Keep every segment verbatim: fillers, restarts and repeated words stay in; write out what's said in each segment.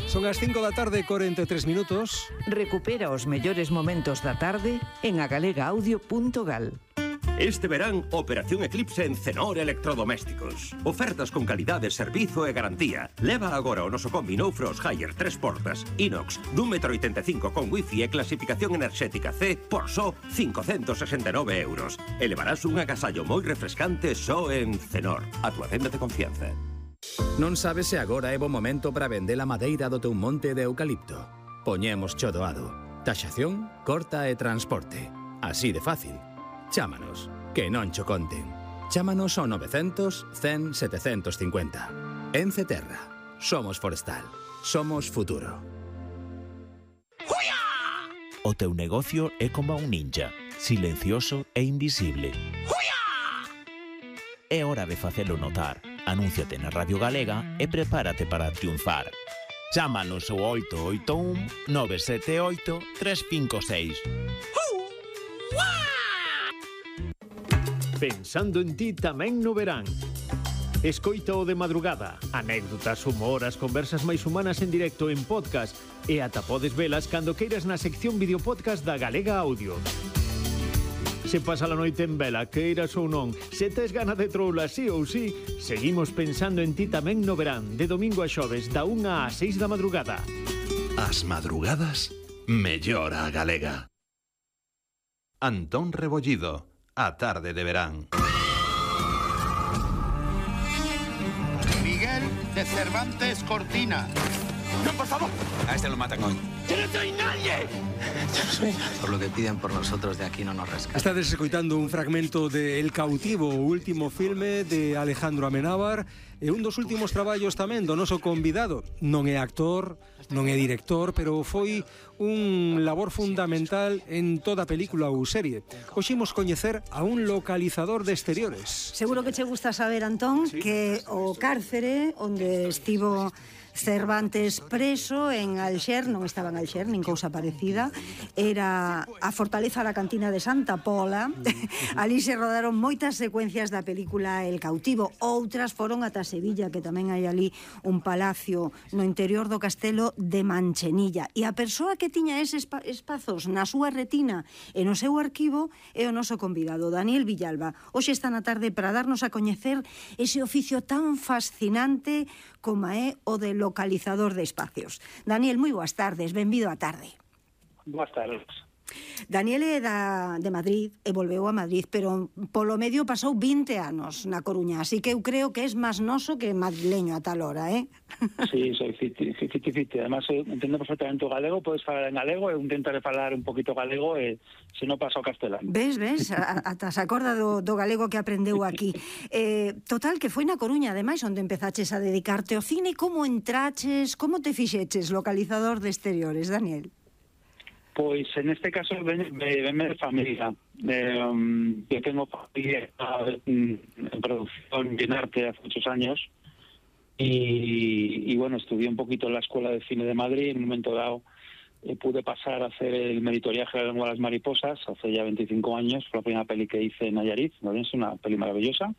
Son as cinco da tarde, cuarenta e tres minutos. Recupera os mellores momentos da tarde en agalegaaudio punto gal. Este verán, Operación Eclipse en Cenor Electrodomésticos. Ofertas con calidade, servizo e garantía. Leva agora o noso combi No Frost Higher tres portas, inox, dun metro oitenta e cinco con wifi e clasificación enerxética C por só cincocentos sesenta e nove euros. E levarás un agasallo moi refrescante só en Cenor, a tua tenda de confianza. Non sabes se agora é bo momento para vender a madeira do teu monte de eucalipto. Poñemos cho doado. Taxación, corta e transporte. Así de fácil. Chámanos, que non cho conten. Chámanos ao novecentos, cen, setecentos cincuenta. Ence Terra. Somos forestal. Somos futuro. O teu negocio é como un ninja, silencioso e invisible. É hora de facelo notar. Anúnciate na Radio Galega e prepárate para triunfar. Chámanos ao oito oito un, nove sete oito, tres cinco seis. Pensando en ti tamén no verán. Escoita o de madrugada, anécdotas, humor, as conversas máis humanas en directo en podcast e ata podes velas cando queiras na sección videopodcast da Galega Audio. Se pasa a noite en vela, queiras ou non, se tes gana de troula sí ou sí, seguimos pensando en ti tamén no verán, de domingo a xoves, da unha a seis da madrugada. As madrugadas, mellor a galega. Antón Rebollido, a tarde de verán. Miguel de Cervantes Cortina. ¡No, por favor! A este lo matan hoy. ¡Yo no soy nadie! Yo no soy nadie. Por lo que piden por nosotros de aquí no nos rescatan. Estades escoitando un fragmento de El Cautivo, o último filme de Alejandro Amenábar, e un dos últimos traballos tamén do noso convidado. Non é actor, non é director, pero foi un labor fundamental en toda película ou serie. Hoxe imos coñecer a un localizador de exteriores. Seguro que che gusta saber, Antón, sí, que o cárcere onde estivo Cervantes preso en Alxer, non estaba en Alxer, nin cousa parecida, era a fortaleza da cantina de Santa Pola. Ali se rodaron moitas secuencias da película El Cautivo, outras foron ata Sevilla, que tamén hai ali un palacio no interior do castelo de Manchenilla. E a persoa que tiña eses espazos na súa retina e no seu arquivo é o noso convidado, Daniel Villalba. Hoxe está na tarde para darnos a coñecer ese oficio tan fascinante como é o de localizador de espacios. Daniel, moi boas tardes, benvido á tarde. Boas tardes. Daniel é da, de Madrid e volveu a Madrid, pero polo medio pasou vinte anos na Coruña, así que eu creo que es máis noso que madrileño a tal hora, eh? Sí, soy fiti, fiti, fiti. Además, entendo perfectamente o galego, podes falar en galego, eu intentaré falar un poquito galego e se non paso ao castelán. Ves, ves, ata se acorda do, do galego que aprendeu aquí. Eh, total, que foi na Coruña, ademais, onde empezaches a dedicarte ao cine. Como entraches, como te fixeches localizador de exteriores, Daniel? Pois, en este caso, ven, ven de familia. Eh, um, yo tengo familia en, en producción y en arte hace muchos años. Y, y bueno, estudié un poquito en la Escuela de Cine de Madrid. En un momento dado eh, pude pasar a hacer el meritoriaje de la Lengua de las Mariposas hace ya veinticinco años. Fue la primera peli que hice en Nayarit. Es una peli maravillosa.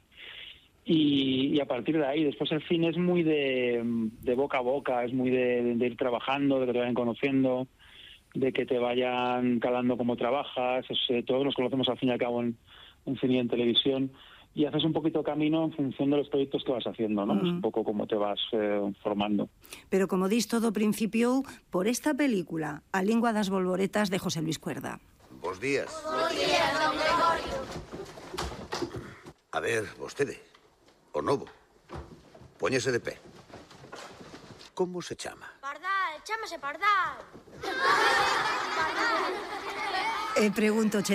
Y, y a partir de ahí, después el cine es muy de, de boca a boca, es muy de, de ir trabajando, de que te vayan conociendo, de que te vayan calando cómo trabajas. Es, eh, todos nos conocemos al fin y al cabo en, en cine y en televisión, y haces un poquito camino en función de los proyectos que vas haciendo, ¿no? Uh-huh. Es un poco como te vas eh, formando. Pero como dis, todo principiou por esta película, A lingua das bolboretas, de José Luis Cuerda. Bos días. Bos días, don Gregorio. A ver, vostede, o novo, póñese de pé. Como se chama? Pardal, chámase Pardal. E pregunto, che,